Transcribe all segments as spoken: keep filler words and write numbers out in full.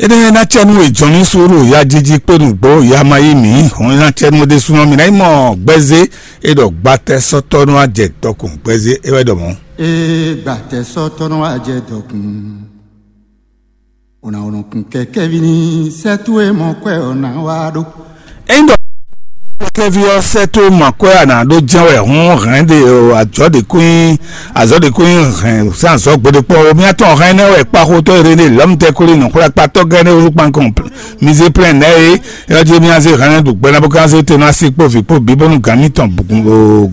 Énɛ́ ná cɛ nú è jɔn mì sú ɖo ya jiji kpé nǔgbó ya ma yí mǐ hɔn ná cɛ nú ɖésúnɔ mì ná nyí mɔ gbɛzé é ɖɔ gbatɛ sɔ́tɔ́ nú ajɛ dɔkun gbɛzé é wɛ ɖɔ mɔ̌. Ee, gbatɛ sɔ́tɔ́ nɔ wá jɛ dɔkun. Ò nǎ nɔ kun kɛkɛ́ví ní sɛ́ towe mɔ kwɛ ɔ́ ná wá ɖó. Ényí ɖɔ kɛkɛ́ví ɔ́ sɛ́ towe mɔ kwɛ a nǎ ɖó jɛ́n wɛ hɔn hɛn ɖe azɔ̌ ɖě kún nyí azɔ̌ ɖě kún nyí hɛn sín azɔ̌ gbeɖé kpɔ́n o. Mía tɔn hɛn énɛ́ wɛ kpáxotɔ́ e ɖe lě lɔmtɛkuli nɔxwlɛ́kpatɔ́ gɛ́ nɛ́ wúzú kpankɔn mizé plɛ́n nɛ́ é. Yɔ́ jí mì azé hɛn ɖu gbɛ ná bó ká zé te nú así kpó vǐ kpó bǐ bónú gǎn mǐtɔn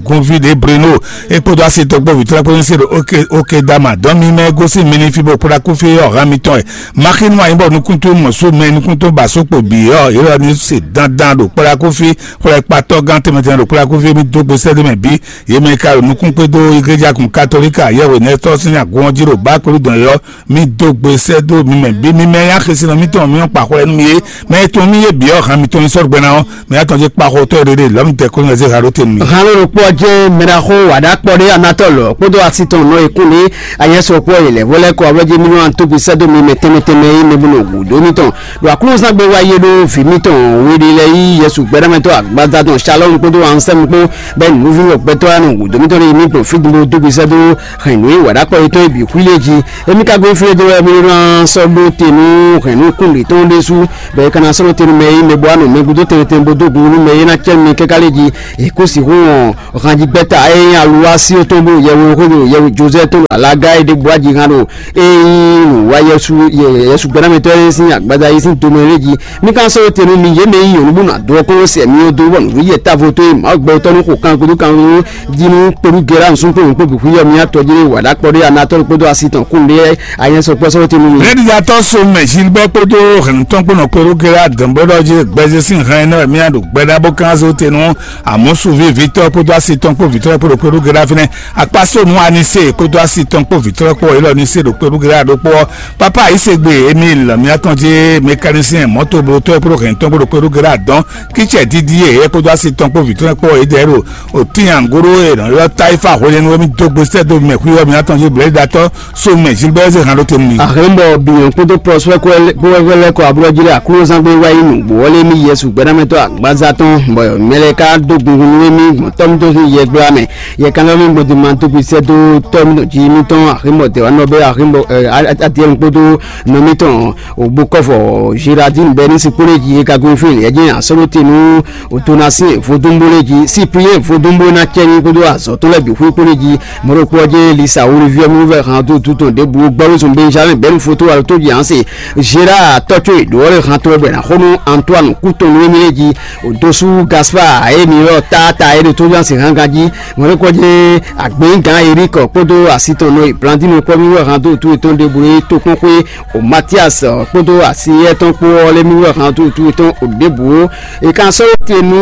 gunví ɖě Breno é kpódó así tɔn kpó vǐ tlɛ́ kpó ní se ɖo oke oke dama dɔn mì mɛ gosín mi ní fí bó kplá kú fí ɔ́ hɛn mǐtɔn wɛ. Maxinu anyí bɔ nukúntún mɔ̌ sú mɛ nukúntún ba só kpo bǐ ɔ́ yě lɔ ní se dandan ɖo kplá kú fí xwlɛ kpatɔ́ gán tɛnmɛ tɛnmɛ ɖo kplá kú fí mì dó gbe sɛ́ ɖé mɛ bǐ. Yě mɛ ka ɖo nukún kpédó iglejakun katolíka yɛhwe nɛtɔ́ sín agun ɔ́ jí ɖo bá kpéɖu dɔn yɔ. Mì dó gbe sɛ́ dó mi mɛ bǐ mi mɛ yá xesinɔ mǐtɔn mì ɔ́ kpa xwlɛ nú mi é. Mɛ e tunwun mì yé bǐ ɔ́ han mitɔn nyi sɔ́ ɖo gbɛ ná ɔ́, mɛ atɔn jí kpa xotɔ́ e ɖe ɖe lɔ̌ mi tɛ́ kó nɔ zé ha ɖó te nú mi. Hǎn ló ɖokpó ɔ́ jɛ́n mɛ ɖaxó wǎɖákpɔ́ ɖé Anatɔ́lu kpódó asi tɔn nɔ e kún lě ayɛ́sɔkpɔ́ e lɛ̌ vɔ lɛ́ kɔ ablɔ́ jí mì nɔ antógbe sɛ́ dó mi mɛ tɛnmɛ tɛnmɛ e mɛ bó nɔ hu dó mitɔn. Ɖo aklúnɔzán gbe wá yé ɖó vǐ mitɔn we ɖé lɛ́ɛ yí Yɛsu gbɛ́dámɛtɔ́ agbadá tɔn Shalɔ́mu kpódó Ansɛ́mu kpó bɛ́ nǔvínɔ gbɛtɔ́ wá nɔ hu dó mitɔn ɖé mi gbɔn fí gúdo dó gbe sɛ́ dó hɛn nǔ e wǎɖákpɔ́ yětɔn e bǐ xwí lé jí. Émí ka gbe fí e dó wɛ mì nɔ sɔ́ ɖó te nú hɛ̌nnu kún ɖě tɔn ɖésú, bɔ è ka ná sɔ́ ɖó te nú mɛ e nyí mɛ bó wá nɔ mɛ gúdo tɛnmɛ tɛnmɛ bó dó gun nú mɛ e ná cɛ́ mi káká lé jí. È kó sixú wɔn hanjigbɛ́ta e nyí aluwá sí ɔ́ tɔn bó yɛhwexó ɖo yɛhwe Jozɛ́ tɔn ɖo alaga e ɖěbǔ aji han ɖo e nyí nǔwá Yɛsu Yɛsu gbɛ́námɛtɔ́ e sín agbaza yi sín tomɛ lé jí. Mi ka sɔ́ te nú mi yě mɛ e nyí nyɔ̌nu bó nɔ adó ɔ́ kɔn sɛ mi ɔ́ dó bɔ nǔɖuɖu yɛ távo tó e Mawu gbɛtɔ́ nú xo kan gúdo kan jí nú kpódú Gera nsúkpó nǔkpó bǐ xwíyɔ mì atɔ́ jí wǎ ɖó akpɔ ɖé Anatɔ́lu kpódó asi tɔn kún ɖé ayɛ́sɔkpɔ́sɔ́ tɛnnu mi. Lɛ́ɖiɖatɔ́ Somɛ Gilbert kpódó hɛ̌nnutɔ́ kpó nɔ kpódó Gera dɔ̌nbɔ́ɖɔ jí gbɛzé sín hɛn énɛ́ wɛ mì ɖo gbɛɖá bó kán zó te nú Amɔ̌su ví Victor kpódó asi tɔn kpó vǐ tɔn kpó ɖo kpódó Gera fínɛ́. Akpáso nú Anise kpódó asi tɔn kpó vǐ tɔn kpó élɔ́ ní se ɖo kpódó Gera ɖokpó ɔ́. Pápá Ayísegbe Emile mì atɔn jí mécanicien mɔ̌toblótɔ́ kpódó hɛ̌nnutɔ́ kpó ɖo kpódó Gera dɔn. Kítsɛ dídí yě kpódó asi tɔn kpó vǐ tɔn kpó yě dɛ ɖo òtín angoro e nɔ ylɔ́ Tayifa hwenɛ́nu e mì dó gbe sɛ́ dó mɛ xwíwɔ́ mì atɔn jí blɛ̌ɖiɖatɔ́ Somɛ Gilbert zé han ɖó te nú mi. Àhɛ́nbɔ biyɔn kpódó pɔsúwɛ́ kó lɛ́ kɔ ablɔ́ jí ɖo aklúnɔzán gbé wá yi nǔgbó ɔ́ lé mì Yɛsu gbɛ́námɛtɔ́ agbaza tɔn, bɔ mɛ lɛ́ɛ ka dó gungun nú émí gbɔn tɔ́ mítɔn sín yɛ gbla mɛ. Yɛ kankanmí gbɔn din ma dó gbe sɛ́ dó tɔ́ mítɔn jí mítɔn àhɛ́nbɔ dɛ̌wánɔ bɛ́ àhɛ́nbɔ adiyɛ́nu kpódó nɔ mítɔn ògbókɔ́fɔ Gérardine bɛ́ ní sí kpó lé jí é ka gún fí lě ɛ jɛ́n asɔ́ ɖó te nú Otonasín vodúnbó lé jí, Cyprien vodúnbó ná cɛ́ ní kpódó azɔ̌ tɔn lɛ́ɛ bǐ xwí kpó lé jí. Mɔ̌ ɖokpó ɔ́ jɛ́n Lisa Woliviɛ mú vɛ han dó dúdɔn ɖěbǔ gbɔ́ wezun Benjamin bɛ́nu fótó alo tó jí Hanse, Gérard tɔ́ có è ɖǒ ɔ́ lɛ́ han tɔn wɛ bɔ è nǎ xo nú Antoine kú tɔn nú émí lé jí. Òdosú Gaspard e mi ylɔ́ táata é ɖo tó jí Hanse hángan jí. Mɔ̌ ɖokpó ɔ́ jɛ́n Agběngán Erik kpódó asi tɔn nɔ e Blandine kpɔ́ mí wɛ han dó wútu yětɔn ɖěbǔ e tokpɔ́n xwé o Matias kpódó asi étɔn kpó ɔ́ lɛ́ mí wɛ han dó wútu yětɔn o ɖěbǔ ó. È ka sɔ́ te nú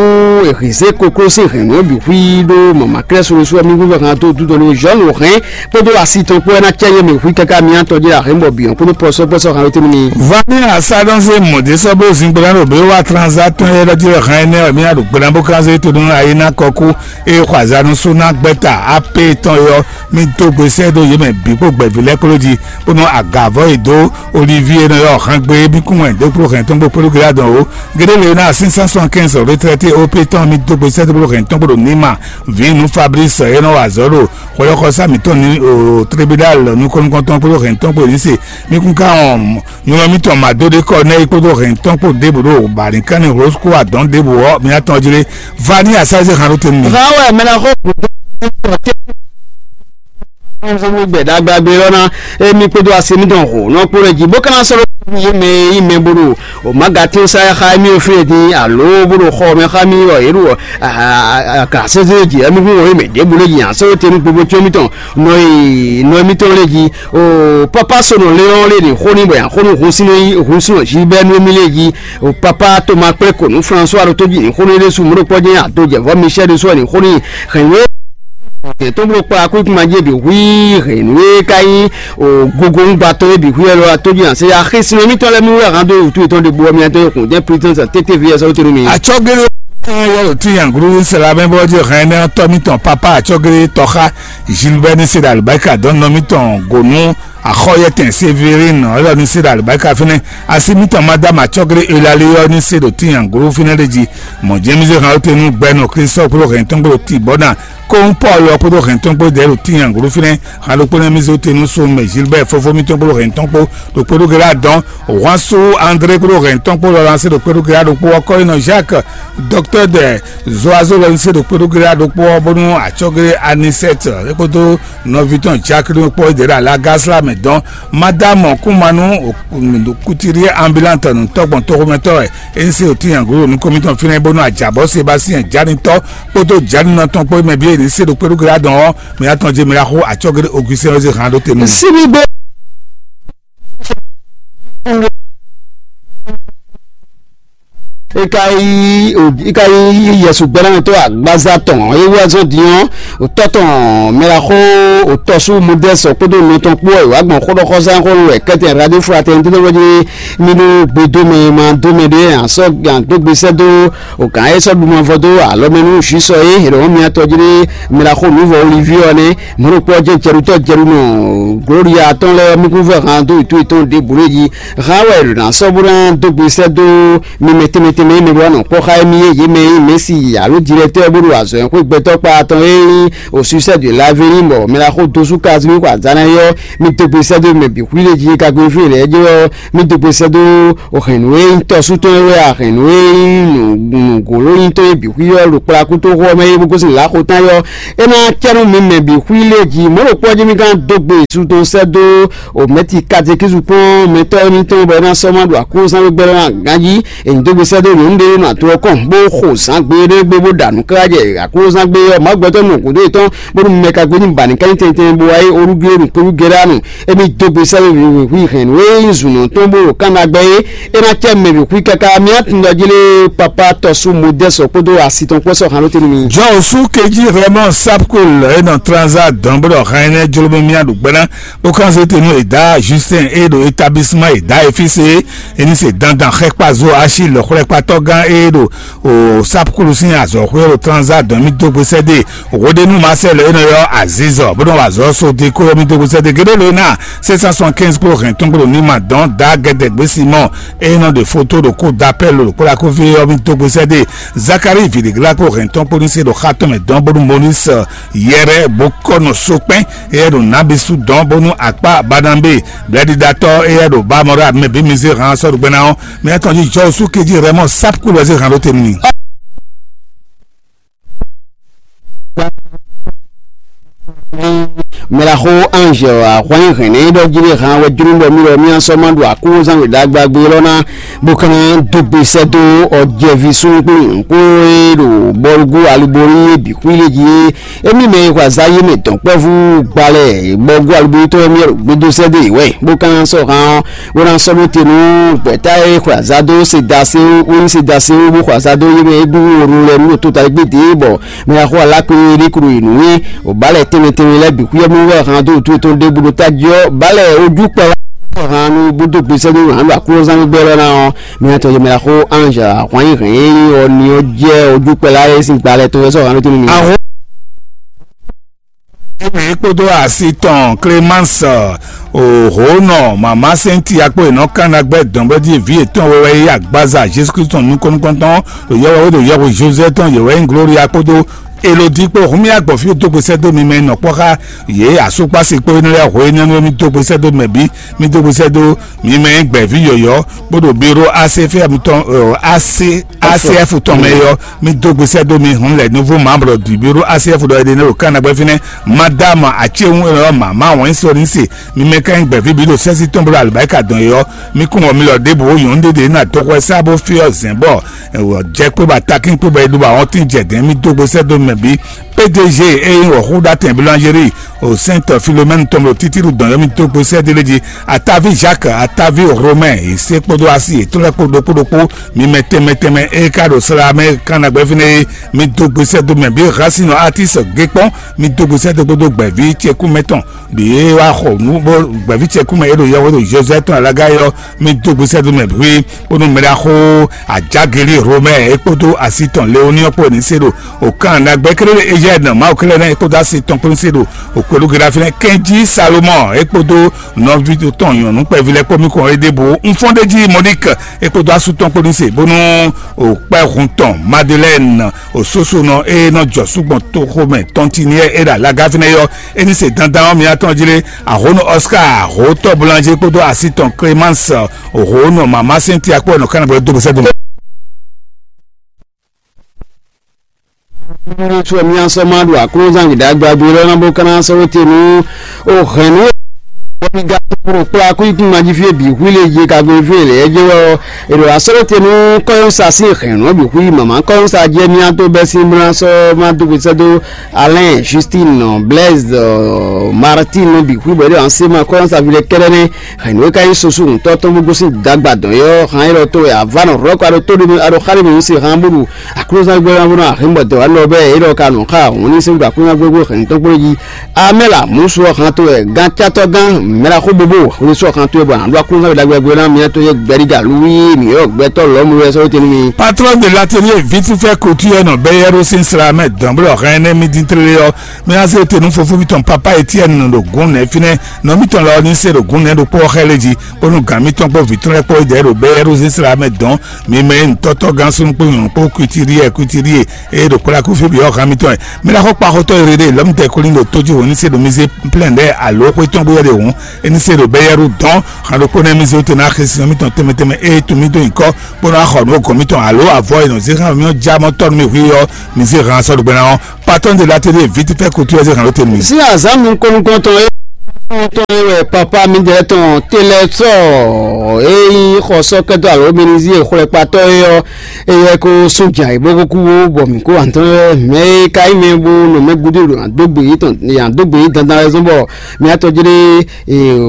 èhǐzé kokló sín hɛ̌nnu ɔ́ bǐ xwí ɖó mama klɛ́ solosu ɔ́ mí wɛ han dó wútu dɔn ní Jean Laurent kpódó asi tɔn kpó ɔ́ ná cɛ yé mɛ xwí káká mì atɔn jí ɖo ahɛ̌nbɔ bǐ ɔ́n kpódó pɔsɔ́pɔsɔ́ han wété nú mi. Vanilla Salonze mɔ̌ ɖé sɔ́ bló zingblá ɖo bě wá tranzatɔn e ɖɔ jí wɛ han énɛ́ wɛ mí ná ɖo gbeɖá bó kánzé to nú ayé ná kɔ kú. Eye xɔ azǎn nú sú ná gbɛ́ta apé tɔn e ɔ́, mì dó gbe sɛ́ dó yě mɛ bǐ kpó gbɛ̌ví lɛ́ɛ kpló jí, bónú agǎvɔ́ e dó Olivíe nɔ ylɔ́ hɛngbe mì kún wɛn dó kpló hɛn tɔn bó kpló Gileyadi ɔ́ ó. Géɖé lě ná sín cent soixante-quinze retraité O P tɔn mì dó gbe sɛ́ dó kpló hɛn tɔn kpó ɖo Nima, vǐ nú Fabrice e nɔ wa azɔ̌ ɖo xwɛyɔ́xɔsá mǐtɔn ní o tribunal nukɔn-nukɔntɔn kpó hɛn tɔn kpó ní se. Mì kún ká wɔn nylɔ mítɔn Madóɖékɔ nɛ́ é kpódó hɛn tɔn kpó ɖěbǔ ɖo bǎlínkánní Rosco adɔn ɖěbǔ ɔ́, mì atɔn jlé. Vani asáze han ɖó te nú mi. Hán wɛ mɛ ná xɔ gǔdo tɔn tɛ́ nzɔ́n gbɛ ɖagbagbé ɔ́ ná émí kpódó asi mítɔn hǒ nɔ kpó lɛ jí bó ka ná sɔ́ ɖó yé mɛ e nyí mɛ bó ɖo o magatí sa xá émí ɔ́ fí e dín alo bó ɖo xɔ mɛ xá mì ɔ yě ɖo akasɛ́sɛ jí émí kún wɔ yé mɛ ɖěbǔ lé jí asɔ́ te nú gbogbo tí mítɔn nɔ e nɔ émítɔn lé jí. O papa sonɔ lé ɔ́ lé ní xó ní bɔ yǎ xó nú hun sínú yí hun sínú jí bɛ́ nú émí lé jí. O papa Toma kplé kò nú François ɖo tó jí ní xó ní ɖésú mú ɖó kpɔ́ jɛ́n adó jɛ vɔ́ Michel ɖésú ɔ́ ní xó ní hɛn wé. Yě tó bló kpla kú ikú ma jé bǐ hwí hɛn nú é ká nyí o gogo ŋgbatɔ́ é bǐ hwí ɛlɔ tó jí hàn sɛ ya xí sinú émítɔn lɛ́ɛ mí wɛ hàn dó wútu yětɔn ɖe gbó ɔ́ mí ɛtɔn yě kún jẹ́ pritɛn sa tété vi ɛsɛ wótó nú mi. Atsɔ́gélé yɛ ɖo tí yanglu sɛlɛ abɛ bɔ jɛ hɛn nɛ tɔ mítɔn papa atsɔ́gélé tɔxa Gilbert ní se ɖe alibáríkà dɔn nɔ mítɔn gònú Axɔyɛtɛn Severine ɔ́ ní se ɖo alibáka fínɛ́. Asi mítɔn Madame Acɔ́glé Eulalie ɔ́ ní se ɖo tínyanglo fínɛ́ ɖé jí. Mɔ̌ jɛ́n mì zé han ɔ́ te nú gbɛnɔ Christophe kpódó hɛn tɔn kpódó Tibɔ́na kóhún Pɔ́lu ɔ́ kpódó hɛn tɔn kpó dɛ̌ ɖo tínyanglo fínɛ́. Han ɖokpó nɛ́ mì zé te nú so mɛ Gilbert fofó mítɔn kpódó hɛn tɔn kpó ɖo kpódó Gɛlá dɔn. Hwansu André kpódó hɛn tɔn kpó lɔlá se ɖo kpódó Gɛlá ɖokpó ɔ́ kɔ́ nyi nɔ Jacques, docteur de Zoazo lɔ ní se ɖo kpódó Gɛlá ɖokpó ɔ́ bónú Acɔ́glé Anisɛt é kpódó nɔví tɔn Jacques ɖokpó ɔ́ dɛ̌ ɖo alágásla mɛ dɔn. Madame Kumanu Kutiri ambulante nǔtɔ́ gbɔn toxomɛtɔ́ wɛ é ní se ɖo tínyanglo ɖo nukɔn mitɔn fínɛ́ bónú ajǎbɔ́ Sébastien Janitɔ́ kpódó Janinɔ tɔn kpó mɛ bǐ e ní se ɖo kpéɖúgbe adɔn ɔ́, mɛ atɔn jɛ mɛ ɖaxó acɔ́gbe Augustin ɔ́ zé hǎn ɖó te nú mì. Síbígbé é ka yí é ka yí yɛsu gbɛ́nánɔtɔ́ agbaza tɔn é wú azɔn din ɔ́, òtɔ́ tɔn mɛɖaxó òtɔ́sú Modɛ́sɔ kpódó nɔ tɔn kpó wɛ wǎ gbɔn xóɖɔxɔzán xó wɛ kɛ́tɛn radío fratɛn dó lɛ́ wɛ jí mì ɖó gbe dó mɛ ma dó mɛ ɖé asɔ́ dó gbe sɛ́ dó o gǎn e sɔ́ ɖu mavɔ dó alɔ mɛ nú Jwisu ɔ́ é, è ɖɔ mì atɔjí ɖé mɛ ɖaxó nǔvɔ Oliví ɔ́ nɛ́. Mɔ̌ ɖokpó ɔ́ jɛ́n jɛɖutɔ́ jɛɖu nɔ Gloria tɔn lɛ́ɛ mukúnvɔ han dó wǔtu yětɔn ɖěbǔ lé jí. Han wɛ è ɖǒ ná sɔ́ bó ná dó gbe sɛ́ dó mi mɛ tɛnmɛ tɛnmɛ e mɛ ɖó wá nɔ kpɔ́ xá émí é, yě mɛ e nyí Mɛ̌si alo Dilɛtɔ́ bó ɖo azɔ̌ e xwé gbɛtɔ́ kpa tɔn e nyí Osusɛ́ de Lavéní bɔ mɛ ɖaxó dosú Kazimí xɔ azǎn ná é ɔ́, mi dó gbe sɛ́ dó mɛ bǐ xwí ɖé jí ka gbé fí lɛ́ɛ jɛ ɔ́, mì dó gbe sɛ́ dó hɛ̌nnu e nyí tɔ́sú tɔn é wɛ a, hɛ̌nnu e nyí nǔgǒló nyí tɔn é bǐ xwí ɔ́ ɖo kplá kútóxó ɔ́ mɛ é bó gosín lǎxo tán é ɔ́, é ná cɛ nú mi mɛ bǐ xwí lé jí. Mɔ̌ ɖokpó ɔ́ jí mi gán dó gbe su tɔn sɛ́ dó o mɛ̌ti katekízu kpɔ́n mɛtɔ́ émítɔn bɔ é ná sɔ́ má ɖo aklúnɔzán wé gbɛ́ ɔ́ ná gán jí. È nyi dó gbe sɛ́ dó nyɔ̌nu ɖé nɔ ato ɔ́ kɔn bó xo zǎn gbe ɖé gbe bó ɖa nǔ káká jɛ aklúnɔzán gbé ɔ́, Mawu gbɛtɔ́ nɔ gǔdo yětɔn bónú mɛ ka gbe ní ba nǐ kɛ́n tɛntɛn bó wá yí orúgbó ɖo kpéwú gɛ́ɖá nɔ. Émí dó gbe sɛ́ wěwé hwi hɛn nǔ e nyí zǔnɔ tɔn bó ɖo kánɖagbe é, é ná cɛ mɛ bǐ xwí káká. Mi atundɔjí lé papa tɔ́sú Modɛ́sɔ kpódó asi tɔn kpó sɔ́ han ɖó te nú mi. Jɔn sú kejí Raymond Sapkul e nɔ Tranza dɔn bó ɖɔ han énɛ́ jló mì mía ɖo gbɛ́ ná bó kán zé te nú Eda Justin e ɖo établissement Eda Efise é, é ní se dandan xɛkpazo Achille xwlɛkpatɔ́ gán e ɖo o Sapkul sín azɔ̌xwé ɖo Tranza dɔn mì dó gbe sɛ́ dé. Hweɖénu Marcel e nɔ ylɔ́ Azizɔ bó nɔ wa azɔ̌ Sodeko ɔ́, mì dó gbe sɛ́ dó gěɖé lě ná six cent soixante-quinze kpó hɛn tɔn kpó ɖo ní ma dɔn da gɛdɛgbé Simɔn e nɔ ɖe foto ɖo kó da pɛ́ lo ɖo kpó ɖaxóví ɔ́, mì dó gbe sɛ́ dó Zakari vǐɖiglá kpó hɛn tɔn kpó ní se ɖo xá tɔn mɛ dɔn bónú Molis Yɛrɛ bó kɔ nɔ sokpɛ́n eyɛ ɖo Nabisu dɔn bónú akpá Banabé blɛ́ɖiɖatɔ́ eyɛ ɖo Bamɔra mɛ bí mi zé hán sɔ́ ɖo gbɛ́ ná ɔ́, mì atɔn jí jɔ sú kejí Rɛmɔ Sapkul wɛ zé hán ɖó te nú mì. Mɛɖaxó Ange ahwan hɛn nɛ ɖɔ jí ɖe hàn wɛ jló ɖɔ mí ɖɔ mí asɔ ma ɖo akúnzán wě ɖagba gbé lɔ ná bó ká ná dó gbe sɛ́ dó ɔjɛví súnnu kpó nyɔ̌nu kpó e ɖo bɔlugú alubórí bǐ xwí lé jí é. Émí mɛ e xɔ azǎ yé mɛ dɔ̌nkpɛvú gbalɛ bɔlugú alubórí tɔn mí ɖo gbédó sɛ́ dó yě wɛ bó ká ná sɔ́ hàn ɔ́ bó ná sɔ́ ɖó te nú gbɛ̌ta e xwe azǎ dó Sedaseo, bó nyí Sedaseo bó xwe azǎ dó yé mɛ e gúngún wǒ lɛ́ɛ nú ɖo tota gbédé bɔ mɛ e xo alákwe é ɖé klo yi nǔ é. O bǎlɛ tɛnmɛ tɛnmɛ lɛ́ɛ bǐ xwíyɛ́ mú wɛ hán dó wǔtu yětɔn ɖěbǔ ɖo tají ɔ́, bǎlɛ ojúkpɛ wá hán nú bó dó gbe sɛ́ nú hǎn ɖo aklúnɔzán gbígbɛ́ lɔ ná ɔ́, mɛ e tɔjɛ mɛ e xo Ange ahwan nyi hɛn é nyí ɔ́ ní ɔ́ jɛ ojúkpɛ lá é sín gbalɛ tɔn wɛ sɔ́ hǎn ɖó tɛ́ nú mi. Émí kpódó asi tɔn Clémence, òhónɔ mama sɛnti akpó è nɔ kán ná gbɛ́ dɔn bó jí vǐ yětɔn wɛ wɛ yí agbaza Jesu Kristu nukɔn nukɔntɔn ɖo yɔwɛ wé ɖo yɔhwe José tɔn yě wɛ nyí Gloria kpódó Elodi kpó hun mì agbɔ̌ fí dó gbe sɛ́ dó mi mɛ nɔ kpɔ́ xá yě asúkpási kpó énɛ́ lɛ́ɛ hwe énɛ́ nú émí dó gbe sɛ́ dó mɛ bǐ, mì dó gbe sɛ́ dó mi mɛ nyí gbɛ̌ví yɔ̌yɔ́ bó ɖo biro A C F M tɔn, ɔ, A C, A C F tɔn mɛ é ɔ́, mì dó gbe sɛ́ dó mi hun lɛ nouveau membre du bureau A C F ɖɔ é ɖe nɛ́ ɖo Ghana gbɛ́ fínɛ́. Madame Acéhun e nɔ ylɔ́ mama wɛn sɔ ní se mi mɛ ká nyí gbɛ̌ví bǐ ɖo sɛ́sí tɔn bó ɖo alibáríkà dɔn é ɔ́, mi kún wɔ mi lɔ ɖěbǔ ó nyɔ̌nu ɖé ɖě ná dɔxɔ ɛ sá bó fí ɔ́ zɛ̌n bɔ jɛ kpé ba takín kpé bɔ é ɖó ba wɔ́ntín jɛ dɛ̌n mì dó gbe sɛ́ dó mɛ bǐ. P D G e nyí wɔ̌xúɖatɛn boulangerie o Sainte Philomène tɔn ɖo títíɖu dɔn yɔ́ mì dó gbe sɛ́ dó lé jí. Ataví Jacques, Ataví Romain, yě se kpódó asi yětɔn lɛ́ɛ kpó ɖokpó ɖokpó, mi mɛ tɛnmɛ tɛnmɛ e ka ɖo sla mɛ kan na gbɛ́ fínɛ́ é, mi dó gbe sɛ́ dó mɛ bǐ. Hasinɔ Artis Gekpɔn, mi dó gbe sɛ́ dó kpódó gbɛ̌ví ce kú mɛ tɔn ɖě wá xɔ nǔ bó gbɛ̌ví ce kú mɛ é ɖo yɔhwe ɖo José tɔn alága é ɔ́, mi dó gbe sɛ́ dó mɛ bǐ. Bónú mɛ ɖaxó Ajageli Romɛ é kpódó asi tɔn Leoni ɔ́ kpó ní se ɖo òkan ná Gbɛkéré Eugène Mawukélé nɛ́ é kpódó asi tɔn kpó ní se ɖo òkpɛ́lú Gɛ́dáfínɛ́ Kɛnjí Salomɔn é kpódó nɔví tɔn nyɔ̌nu kpɛví lɛ́ɛ kpó mì kɔn é ɖěbǔ. Unfɔ́ndéjí Monique é kpódó asú tɔn kpó ní se bónú òkpɛ́hun tɔn Madeleine òsósónɔ e nɔ jɔ súgbɔn toxomɛ tɔntiniɛ é ɖo alaga fínɛ́ yɔ é ní se dandan ɔ́ mì atɔn jí lé. Ahónú Oscar hó tɔ́blanjí kpódó así tɔn Clémence hó nɔ mama sɛn tiakpɔ nɔ kánabɔ dó bɛsɛ dó. Nínú tí wọ́n mí asọ́ máa ɖo aklúnzán gběɖágbágbé lɔ́ ná bó ká ná sɔ́ wé te nú o hɛ̌nnu e wọ́n mí gán kúrò kplá kú ikún mají fí e bǐ hwí lè je ka gbé fí e lě jɛ wɛ ɔ́. È ɖo asɔ́ wé te nú kɔ́yɔ́nsa sín hɛ̌nnu ɔ́ bǐ hwí mǎmá kɔ́yɔ́nsa jɛ mí á dó bɛ́ sín bó ná sɔ́ má dó gbe sɛ́ dó Alain, Justine, Blaise, Martine bǐ hwí bɔ é ɖo así ma kɔ́yɔ́nsa ví lɛ́ kɛ́ɖɛ́ nɛ́. Hɛ̌nnu e ka nyí susu ŋutɔ́ tɔn bó gosín dagba dɔn é ɔ́, han élɔ́ tó wɛ avá nɔ rɔ̌ kɔ ɖo tó ɖé mɛ aɖo xá ɖé mɛ nyí se han bó ɖu aklúzán gbɛ́ ná bó ná ahɛ̌nbɔ dɔ̌ wá lɔ bɛ́ é ɖɔ ka nɔ xá hǔn ní sɛ́n gba aklúzán gbɛ́ gbɛ́ hɛ̌nnu tɔn kplé jí. Amɛ́la mǔ su ɔ́ han tó wɛ gán cátɔ́ gán mɛɖaxó bóbó hwesú ɔ́ han tó wɛ bɔ han ɖó aklúzán we ɖagbe gbɛ́ ná mɛ tɔn yɛ gbɛ́ɖíga lúwí mǐ ɔ́ gbɛtɔ́ lɔ̌mu wɛ sɔ́ tɛn nú mi. Patron de l'atelier vitifɛ kotu yɛ nɔ bɛyɛro sin sra mɛ dɔn bó ɖɔ hɛn nɛ mi din tlele ɔ́, mi ná zé te nú fofó mitɔn papa Etienne ɖo gǔn nɛ fínɛ́, nɔ mitɔn lɔ ní se ɖo gǔn nɛ ɖokpó ɔ́ xɛ lé jí, bónú gǎn mitɔn kpó vǐ tɔn lɛ́ɛ kpó yí dɛ̌ ɖo bɛyɛro sin sra mɛ dɔn. Mi mɛ nyí nǔtɔ́tɔ́ gán súnnu kpó nyɔ̌nu kpó kwitiriɛ kwitiriɛ eye ɖo kplá kúfí bǐ ɔ́ hán mitɔn wɛ. Mi ná xɔ kpaxotɔ́ e ɖe ɖe lɔ̌mutɛ́ kólí ɖo tójú wǒ ní se ɖo mi zé plɛ́n ɖɛ́ alo xwé tɔn bó yɛ ɖe hǔn, é ní se ɖo bɛ́yɛ́ɖu dɔn. Hǎn ɖokpó nɛ́ mi zé wú te ná xesin ɔ́ mítɔn tɛnmɛ tɛnmɛ ée tun mítɔn nyǐkɔ bó ná xɔ nǔ gɔ̌n mítɔn alo avɔ e nɔ zé xá mì ɔ́ já mɔ tɔ́ nú mì hwí ɔ́, mi zé hǎn sɔ́ ɖo gbɛ ná ɔ́. Patɔ́n de la télé vǐ fɛ́ kutu wɛ zé hǎn ɖó te nú mi. Sí azǎn nukɔn nukɔn tɔn é tɔn é wɛ papa midɛɛ tɔn telɛsɔ e nyí xɔsɔkɛtɔ alo minizi e xwlɛkpatɔ é ɔ́, eyɛ ko sún jan e bó kúkú bɔ mǐ kó antɔ́n mɛ e ka nyí mɛ bó nɔ mɛ gúdo ɖo adógbe yětɔn yě adógbe yě dandan wɛ zɔ́n bɔ mía tɔjí ɖé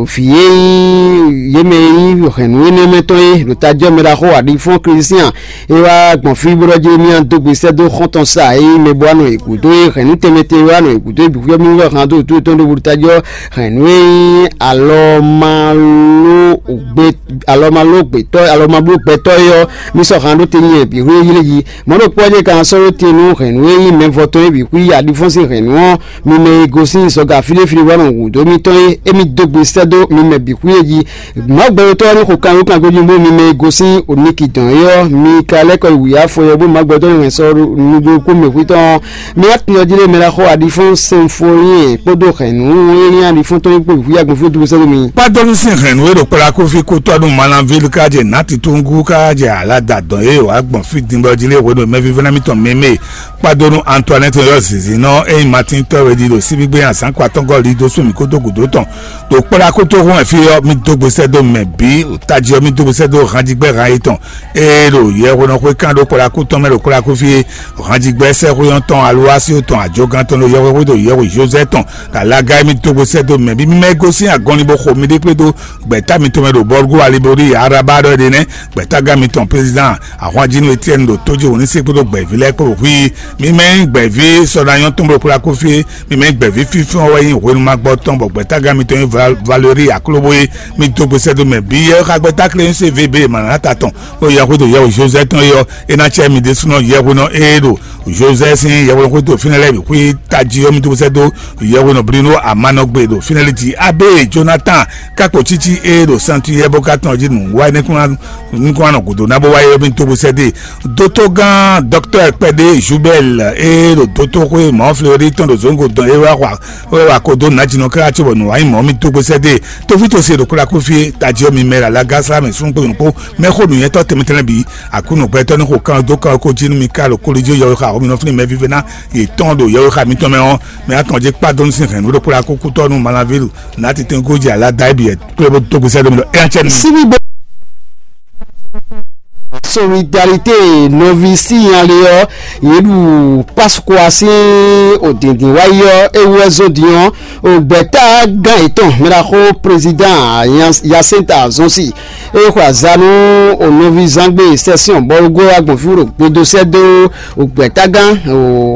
vǐ e nyí yě mɛ e nyí hɛ̌nnu énɛ́ mɛ tɔn é ɖo tajɔ́ mɛ ɖaxó aɖifɔ́n Klísián é wá gbɔn fí bó ɖɔ jí mía dó gbe sɛ́ dó xɔ́ntɔn sa e nyí mɛ bó wá nɔ yě gúdo é hɛ̌nnu tɛnmɛ tɛnmɛ wá nɔ yě gúdo é bǐ xwíxwɛ́ mì wɛ hǎn dó wǔtú tɔn ɖó vodútajɔ hɛ̌nnu e nyí alɔmalógbetɔ́ alɔmablógbetɔ́ é ɔ́. Mi sɔ́ hǎn ɖó te nyɛ bǐ hwé yílé jí. Mɔ̌ ɖokpó ɔ́ jɛ ka sɔ́ ɖó te nú hɛ̌nnu e nyí mɛvɔtɔ́ é bǐ xwí aɖifɔ́n sín hɛ̌nnu ɔ́, mi mɛ e gosín zɔga fíɖéfíɖé wá nɔ wǔ dó mitɔn é, émí dó gbe sɛ́ dó mi mɛ bǐ xwí é jí. Mawu gbɛtɔ́ ɔ́ ní xo kanwékan gojíngbó mi mɛ e gosín oníki dɔn é ɔ́, mi ka lɛ́ kɔ yi wǔyá fɔ ɔ́ bó Mawu gbɛtɔ́ ní hɛn sɔ́ nú ɖokpó mɛ xwítɔ́ ɔ́. Mi wá tunwun jí lé mɛ ɖaxó aɖifɔ́n sɛnfɔlín kpódó hɛ̌nnu e nyí aɖifɔ́n tɔn é kpó vǐ agbɔn fí dúró sɛ́ dó mi. Kpádó nú sín hɛ̌nnu e ɖo kplá kó fí kó tɔ́ nú Malanvílu ká jɛ nǎ titúngú ká jɛ alada dɔn e wǎ gbɔn fí din bɔ jí lé hwenu e mɛvívɛ́ná mitɔn mɛmɛ Kpado nú Antoinette yɔ zǐnzínnɔ e nyí Matín tɔ́ e ɖi ɖo síbígbé azǎn kpatɔ́ngɔ́ li dó sú mǐ kúdó gǔdo tɔn. Ɖo kplá kútóhún wɛ fí ɔ́, mí dó gbe sɛ́ dó mɛ bǐ, tají ɔ́, mí dó gbe sɛ́ dó hanjígbɛ́ han yětɔn. Ée ɖo yɛhwenɔxwé kán ɖó kplá kú tɔn mɛ ɖo kplá kú fí é, hanjígbɛ́ sɛ́xwé ɔ́ tɔn, alwási tɔn, ajogán tɔn ɖo yɛhwexwé ɖo yɛhwe Jozɛ́ tɔn, ɖo alaga e mí dó gbe sɛ́ dó mɛ bǐ. Mí mɛ e gosín agɔnlin bó xo miɖée kpé dó gbɛ̌ta mitɔn mɛ ɖo Bɔlugú Alibori Araba ɖɔ é ɖe nɛ́, gbɛ̌tágán mitɔn président ahwanjínú Etiɛ́ni ɖo tójí wǒ ní se kpódó gbɛ̌ví lɛ́ɛ kpó ɖo hwíí. Mi mɛ nyí gbɛ̌ví sɔɖanyɔ́ tɔn bó kplá kó fí é, mi mɛ nyí gbɛ̌ví fínfín ɔ́ wɛ nyí hwenu ma gbɔ tɔn bɔ gbɛ̌tágán mitɔn nyí Val- Valérie Aklóbó é. Mi dó gbe sɛ́ dó mɛ bǐ yɛ xá gbɛ́táklé nyí sé V B Manata tɔn ɖo yɛhwé ɖo yɛhwe Josɛ́ tɔn é ɔ́, é ná cɛ mi ɖésúnɔ yɛhwenɔ ée ɖo Josɛ́ sín yɛhwenɔ xwé to fínɛ́ lɛ́ɛ bǐ xwí tají ɔ́, mi dó sɛ́ dó yɛhwenɔ blínú amánɔgbe ɖo fínɛ́ lí jí. Abé Jonathan kákpo títí ée ɖo Santu yɛ bó ka tɔn jí nǔ wá é nɛ́ kún ná nukún anɔ gǔdo ná bó wáyé ɔ́, mí dó bó sɛ́ dó e. Dótógán dɔktɔ́ kpɛɖé Jubɛl e ɖo dótóxwé mɔ̌ Fleury tɔn ɖo zǒngo dɔn e wá xwa e wá ko dó nǎjínɔ káká cóbɔ nǔ wá nyí mɔ̌ mí dó bó sɛ́ dó e. Tófítɔ́ se ɖo kplá kúfí é, tají ɔ́ mi mɛ ɖo alaga sá mɛ súnnu kpó nyɔ̌nu kpó mɛ xó nǔnywɛ́tɔ́ tɛnmɛ tɛnmɛ bǐ. Aklúnɔ gbɛtɔ́ ní xo kan dó kan ko jí nú mi ká ɖo kólijó yɔwexá xó mi nɔ flín mɛ vívɛ́ná yětɔn ɖo yɔwexá mitɔn mɛ ɔ́, mɛ atɔn jɛ kpá dó nú sín hɛ̌nnu ɖo kplá kúkútɔ́ nú Malavílu nǎ titɛngójì alá da é bǐ wɛ kplé bó dó gbe sɛ́ dó mi ɖɔ é ná cɛ nú mi. Síbígbe solidarité nɔví sínyalé ɔ́, yě ɖu Pascua sín òdìndín wáyé ɔ́, é wú wɛ zó din ɔ́, ògbɛ́tágán yětɔn mɛɖaxó président Jacinta Zonsi é xwe azǎn nú ònɔví zangbe sɛ́sɛn bɔlugó agbɔ̌nfí ɖo gbedo sɛ́ dó ògbɛ́tágán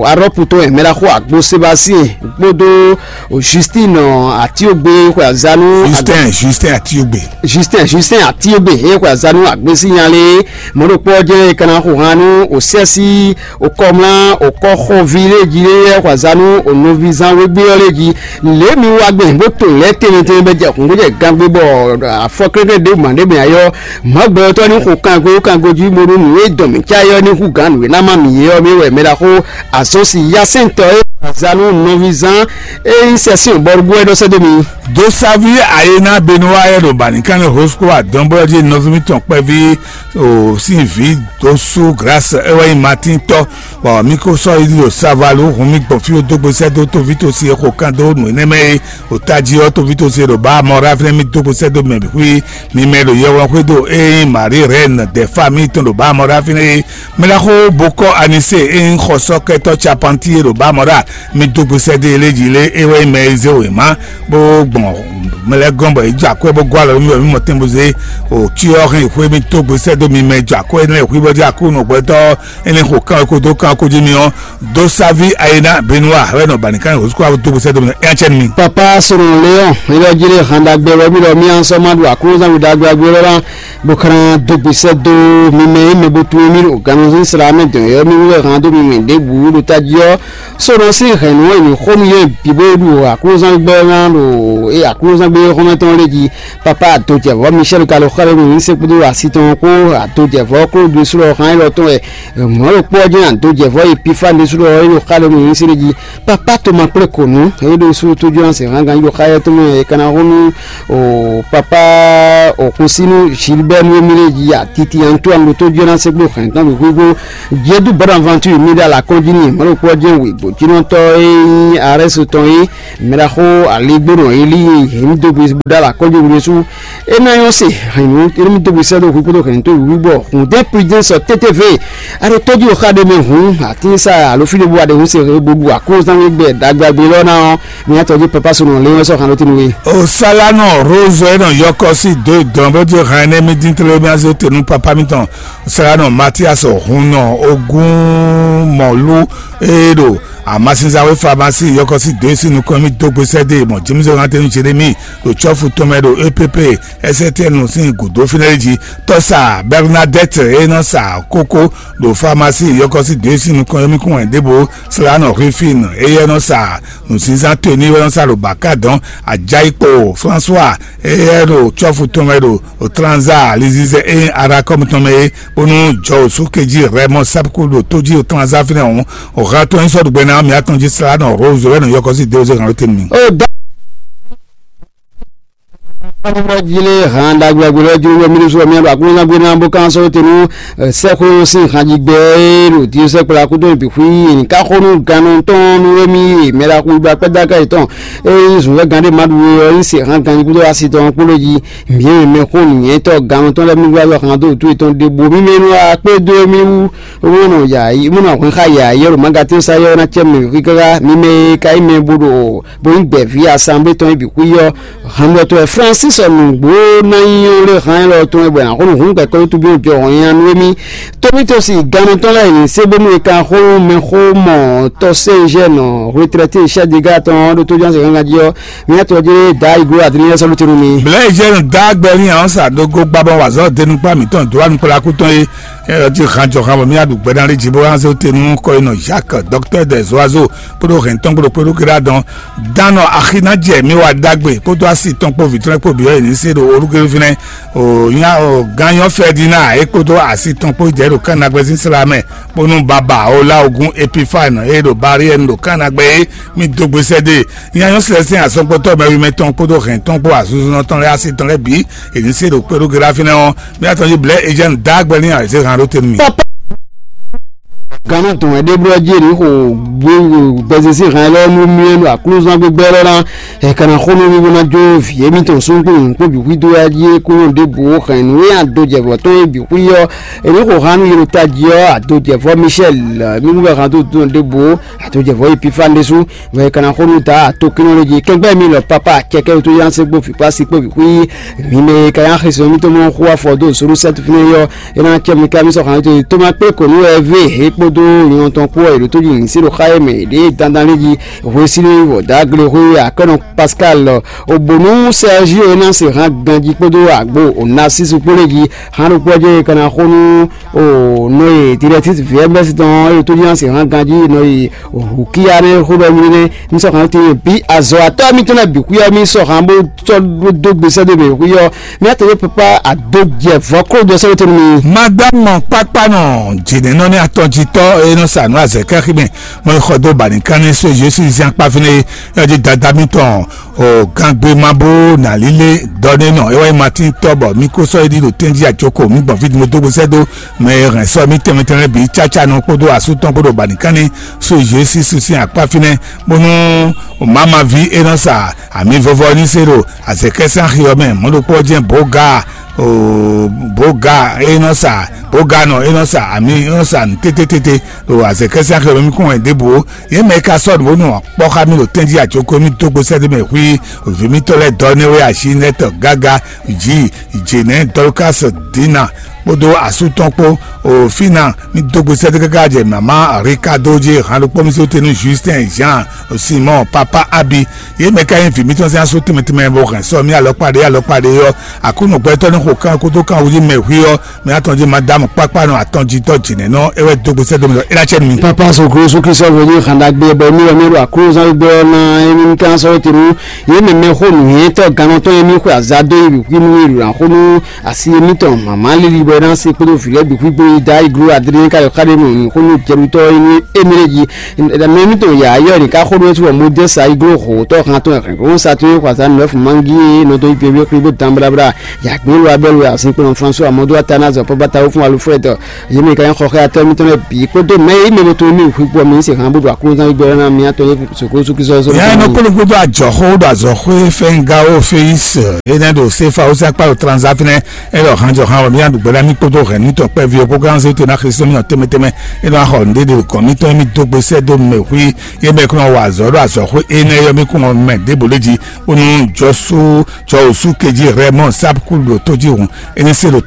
arɔ́putɔ́ mɛɖaxó agbo Sebastien kpódó Justine Atiogbe xwe azǎn nú Justin Justin Atiogbe. Justin Justin Atiogbe é xwe azǎn nú agbésínyalé Mɔ̌ ɖokpó ɔ́ jɛ́n è ka ná xo han nú òsɛ́sí, òkɔmlá, òkɔ́xɔví lé jí lé yɛ́ xɔ azǎn nú ònɔvízán wégbé ɔ́ lé jí. Lě mi wa gbɛn bó to lɛ̌ tɛnmɛtɛnmɛ bɛ jɛ hǔn bó jɛ gangbé bɔ afɔ kɛ́ɖɛ́ ɖěbǔ ma ɖě mɛ ayɔ. Mɔ̌ gbɛtɔ́ ní xo kango kango jí bónú nǔ e dɔn mǐ cá é ɔ́ ní hú gǎn nǔ e ná má mǐ é ɔ́ mɛ wɛ mɛ ɖaxó azɔn si yasɛntɔ́ e azǎn nú nɔvízán e nyí sɛ́sɛn bɔ́ ɖó ɛ ɖɔ sɛ́ dó mi. Dosavi ayena Benua e ɖo Banikane Hosko adɔnbɔlɔji nɔví mitɔn kpɛví o sin vǐ dosu Grâce e wɛ nyí Martin tɔ, bɔ mi ko sɔ́ yi ɖo Savalu hun mi gbɔn fí dó gbe sɛ́ dó tovítɔ́ si e xo kan dó nǔ énɛ́ mɛ é. O tají ɔ́, tovítɔ́ si e ɖo ba mɔ ɖa fínɛ́ mi dó gbe sɛ́ dó mɛ bǐ xwí mi mɛ ɖo yɛhweɖɔ xwé dó e nyí Marie Reine de famille tɔn ɖo ba mɔ ɖa fínɛ́ é. Mɛ ɖaxó Bokɔ Anise e nyí xɔsɔ́kɛtɔ́ Capanti e ɖo ba mɔ ɖa mi dó gbe sɛ́ dó e lé jí lé é wɛ nyí mɛ e zé wěma bó gbɔn mɛ lɛ́ɛ gɔ́n bɔ yě jɔ akwɛ́ bó gɔ́ alɔ mì bɔ mì mɔ tɛn bó zé o cyɔ hɛn xwé mì dó gbe sɛ́ dó mi mɛ jɔ akwɛ́ énɛ́ xwí bɔ jí akú nɔgbɛtɔ́ énɛ́ xo kán ko dó kán ko jí mi ɔ́ dó sáví ayéná Benua wɛ nɔ bani kán xo sukú dó gbe sɛ́ dó mi ɛ cɛ mi. Papa sɔrɔ Léon ilé jílé handa gbɛ wɛ mi lɔ mi ansɔ ma ɖo akúnzán mi ɖagbe agbe lɔ la bó kán dó gbe sɛ́ dó mi mɛ é mɛ bó tún mi ɖo ganu sísla mɛ dɔn yɔ mi wɛ hàn dó mi mɛ ɖěbǔ ɖo tají ɔ́ sɔnɔ sín hɛ̌nnu e mǐ xo nú yě bǐ bó ɖu aklúzán gbɛ́ ná ɖo aklúzán gbé xɔ́mɛ tɔn lé jí. Papa adojɛvɔ́ Michel ka ɖo xá ɖé nú yín se kpódó asi tɔn kpó adojɛvɔ́ Klódu ɖésú ɖɔ xán élɔ́ tɔn wɛ mɔ̌ ɖokpó ɔ́ jɛ́n adojɛvɔ́ Epifani ɖésú ɖɔ é ɖo xá ɖé nú yín se lé jí. Papa toma kplé kǒ nú é ɖo sú tójú ɔ́ se hán ganjí ɖo xá yɛ́ tɔn mɛ é ka ná xo nú o papa òkunsínú Gilbert nú émí lé jí atiti Antoine ɖo tójú ɔ́ ná se kpó hɛn tɔn bǐ xwíxwó. Jedu Bonaventure mi ɖo alakɔn jí n'i mɔ̌ ɖokpó ɔ́ jɛ́n wěgbó jínɔtɔ́ e nyí Arɛ́su tɔn é mɛ ɖaxó aligbónɔ Elíe yě ní dó gbe bó ɖó alakɔ́ jí hwenu sú é ná nyɔ́ se hɛ̌nnu é ní dó gbe sɛ́ dó hwǐ kpódó hɛ̌nnu tó wǐwú bɔ hǔn dé pidé sɔ tétévé. A ɖo tɔ́jú xá ɖé mɛ hǔn atínsá alo fí ɖé bó wa ɖe hǔn se hɛ̌nnu bó ɖu aklúzán wí gbɛ ɖagbe agbe lɔ́ ná ɔ́, mi ná tɔjú papa so nɔ lé wɛ́ sɔ́ hǎn ɖó tínú wé. O Salanɔ Rose e nɔ yɔkɔ sí dó dɔn bó jɛ hàn ɛnɛ mi dín tlé mi azé te nú papa mitɔn. Salanɔ Matias hun nɔ ogún mɔlu e ɖo amasinzawe famasi yɔkɔsi dó e sín nukɔn mì dó gbe sɛ́ dó e mɔ James Anthony Jeremy ɖo cɔ́fu tɔn mɛ ɖo E P P S T N sín gǔdo fínɛ́ jí. Tɔ́sa Bernadette e nɔ sa kókó ɖo famasi yɔkɔsi dó e sín nukɔn yɔ́mí kún wɛn ɖěbǔ. Salanɔ Rufin eyɛ nɔ sa nǔsínzán towe ní wɛ nɔ sa ɖo bǎka dɔn. Ajayi kpo François eyɛ ɖo cɔ́fu tɔn mɛ ɖo Otlanza alizizɛ e arakɔmu tɔn mɛ é, bónú jɔ òsú kejí rɛmɔ sábkú ɖo tójí Otlanza fínɛ́ hǔn, òhán tɔn nyí sɔ́ ɖugbɛ ná mǐ atɔn jí slá nɔ Rose wɛ nɔ yɔkɔ sí Dewuze hǎn lóte nú mì. Ó dá ɔmọ jí lé hàn ɖagbe agbe lɔ jló wɛ míɖú sɔ mía ɖo aklúnɔgbé ná bó kán sɔ́ te nú sɛ́xwé sín hǎnjígbɛ e ɖo Diosɛ́kpla kúdó bǐ xwí yě ní ká xó nú gannɔ tɔn nú émí mɛ ɖaxú gba kpɛ́ dó aká yětɔn. Ényí zǔnvɛ́gán ɖé ma ɖu we ɔ́, é se hán ganjí kúdó asi tɔn kpó lé jí. Mǐ e mɛ xó nǔnywɛ́tɔ́ gannɔ tɔn lɛ́ɛ mì wá yɔ hán dó wǔtu yětɔn ɖěbǔ mì mɛ nú akpé dó émí wú, bó nɔ yǎ bó nɔ hwɛn xá yǎyá ɖo magatínsa yɔ́ ná cɛ mɛ wǐ káká. Mi mɛ e ka nyí mɛ bó ɖo bó nyí gbɛ̌ví asanblé tɔn é bǐ xwí ɔ́, hǎnmɔtɔ́ wɛ Flánsis ɔ́ nǔgbó ná nyí ɔ́ lé hán élɔ́ tɔn é bɔ è nǎ xo nǔ hún kɛkɔ́ wútu bó jɔ hɔn nyi nú émí. Tómítɔ́ si gannɔ tɔn lɛ́ɛ yě se bónú è ka xó mɛxó mɔ tɔ́ Sɛnzɛ́nɔ retraité Chadéga tɔn ɔ́ ɖó tójánse gángan jí ɔ́, Mía tɔ́ jlé Dayi Glo Adrien sɔ́ ló tenu mi. Blɛ̌ Eugène dá gbɛ ní àwọn sàdógó gbá bɔ wà zɔ dénúgbà mǐtɔn dó wà nukpla kú tɔn é. Ɛ ɔ́ jí han jɔ han bɔ mía ɖu gbɛ ná lé jí bó wá zé tenu kɔ yi nɔ Jacques, docteur des oiseaux, kpódó hɛn tɔn kpódó kpódó kéré adɔn. Dánɔ axi ná jɛ mi wá dágbe kpódó asi tɔn kpó vǐtrɔ́n kpó bǐ ɔ́ yě ní se ɖo olúkélú fínɛ́. O nya o gányɔ Ferdinand é kpódó asi tɔn kpó jɛ ɖo kánnagbɛ́ sín sla mɛ, bónú baba o lá ogún Epifane é ɖo Bariɛnu ɖo kánnagbɛ́ é mi dó gbe sɛ́ dó e. Nya nyɔ́ Sɛlɛsitɛ́n azɔngbɔtɔ́ mɛwimɛ tɔn kpódó hɛn tɔn kpó azunzunɔ tɔn lɛ́ɛ asi tɔn lɛ́ɛ bǐ è ní se ɖo kpéɖógbe ɖo fínɛ́ ɔ́, mía tɔn jí blɛ̌ Eugène dá gbɛ n'i ǎ, è zé han ɖó te nú mì. Gannú dɔn wɛ ɖé blɔ́ jí è nǐ xo gbɛzizí han élɔ́ nú mì ɖo aklúzán gbígbɛ́ lɔ́ ná. È ka ná xó nú mì bó ná jó vǐ émítɔn súngbó nyǐkó bǐ xwídó wá jí é kúnnu ɖěbǔ hɛn nǔ e adojɛvɔ tɔn e bǐ xwí ɔ́. È nǐ xo han nú yě ɖo tají ɔ́, adojɛvɔ Michel mí kún bɛ han dó dɔn ɖěbǔ. Adojɛvɔ Epifane ɖésú. Vɔ è ka ná xó nú ta atokínnɔ lé jí kɛngbɛ́ mi lɔ papa kɛkɛ́ wútu yá se kpó fǐkpá sí kpó bǐ xwí. Mi mɛ e ka yá xesɔ mítɔn mɔ xó afɔ dó zolu sɛ́tu fínɛ́ yɔ é ná cɛ mi ka mi sɔ xan tó ma kplé kǒ nú wɛ vé é kpó dó nyɔ̌nu tɔn kpó wɛ è ɖǒ tó jí nǐ se ɖo xá e mɛ è ɖě dandan lé jí. Hwesílí wɔ dǎgle xwé Akɛ́nɔ Pascal, Obonu Sergio e ná se hán ganjí kpódó agbo Onasisu kpó lé jí. Hán ɖokpó ɔ́ jɛ e ka ná xó nú o nɔ e directrice V M S tɔn e tó jí ná se hán ganjí nɔ e Hukia nɛ́ xó ɖɔ mì nɛ́. Mí sɔ́ hán tín bí azɔ atɔ́ mítɔn lɛ́ɛ bǐ xwí ɔ́, mí sɔ́ hán bó sɔ́ dó gbe sɛ́ dó mɛ xwí ɔ́. Mía tɔn e papa ado jɛ vɔ kó jɔ sɛ́ wótɛn nú mi. Madame kpakpa nɔ jǐnɛnɔ ní atɔnjitɔ e nɔ sa nǔ azɛ̌ kɛxí mɛ mɔ xɔ dó bani kánní so Jesu zian kpá fínɛ́ é jí dada mítɔn o gangbe ma bó nà lílé dɔ ní nɔ é wá nyí Martin tɔ bɔ mí kó sɔ́ é ɖi ɖo tɛ́njí àjoko mí gbɔn fí mo dó gbe sɛ́ dó mɛ e hɛn sɔ́ mí tɛnmɛ tɛnmɛ bǐ cáca nɔ kpódó asú tɔn kpódó bani kánní so Jesu sín akpá fínɛ́ bónú mama ví é nɔ sa ami vɔvɔ ní se ɖo azɛkɛsán xi ɔ́ mɛ mɔ̌ ɖokpó ɔ́ jɛ́n bǒga o bǒga é nɔ sa bǒga nɔ é nɔ sa ami é nɔ sa nǔ tététété ɖo azɛkɛsán xi ɔ́ mɛ mí kún wɛ ɖěbǔ ó. Yě mɛ e ka sɔ́ nǔ bónú kpɔ́ xá mì ɖo tɛ́njí acókó mì dó gbe sɛ́ ɖé mɛ hwí vǐ mítɔn lɛ́ɛ dɔ énɛ́ wɛ ashi nɛ́ tɔ gágá jí jěnɛ́ Dɔlukási Dina kpódó asú tɔn kpó o fínà mì dó gbe sɛ́ ɖé káká jɛ mama Ricardo jí han ɖokpó mì sóte nú Justin Jean Simon papa Abi. Yě mɛ ka nyí vǐ mítɔn sín asú tɛnmɛ tɛnmɛ bɔ hɛn sɔ mì alɔkpa ɖé alɔkpa ɖé ɔ́, Aklúnɔ gbɛtɔ́ ní xo kán kótó kán wú jí mɛ hwí ɔ́, mɛ atɔn jí Madamu kpákpá nɔ atɔn jí tɔ́ jǐnɛ́nɔ é wɛ dó gbe sɛ́ dó mì ɖɔ é ná cɛ nú mì. Papa soklo sukisɔ vo ní xanda gbé bɔ mi wɛ mi ɖo aklúzán gbé ɔ́ ná émi ní kán sɔ́ tenu yé mɛ mɛ xó nǔnywɛ́tɔ́ gannɔtɔ́ émi xwe azadó yi wǐ nú yi ɖo axó nú asi émítɔn mama líli bɔ é ná se kpódó vǐ lɛ́ɛ bǐ xwígbó yi dá iglo adré ká yɔ xá ɖé nú nǔ xó nú jɛɖutɔ́ émi émi lé jí. Mɛ émítɔn yǎ yɔ ní ká xó nú é sú bɔ mo dé sa iglo hǒtɔ́ han tɔn hɛn kó sa tún é xwazá nǔ ɛfǔ mangí é nɔ dó yi pé wí xwígbó dan bláblá. Yǎgbé lo abɛ́ lo azinkpo nɔ François Amadu Atanazi Pɔbata Wofun Alufrɛd yémɛ ka nyí xɔxɛ atɔ́ mitɔn lɛ́ɛ bǐ kpódó mɛ e mɛ bo to mì hwikpɔ mi se hàn bó ɖo aklúzán gbígbɛ ná mi atɔ́ yé soko sukisɔ sɔ. Yɛ nɔ kpolo gbogbo ajɔxó ɖo azɔxó fɛngawo feyis enɛ ɖo sefa osa kpalo transa fínɛ. Elɔ hanjɔ han wɔ mi aɖu gbɛɖa mi kpódó hɛn nítɔ kpɛvi ɔ́ kpókó anzé to ná xlesi mi nɔ tɛmɛ tɛmɛ. Enɔ axɔ nɖe ɖe kɔn mitɔn mi dó gbe sɛ dó mɛ hui. Yé mɛ kún wɔ azɔ ɖo azɔxó enɛ yɔ mi kún wɔ mɛ ɖěbò lé jí. Bónú jɔsú jɔ òsú kejì rɛ mɔ sábkú ɖo tó jí hùn. Enɛ se ɖo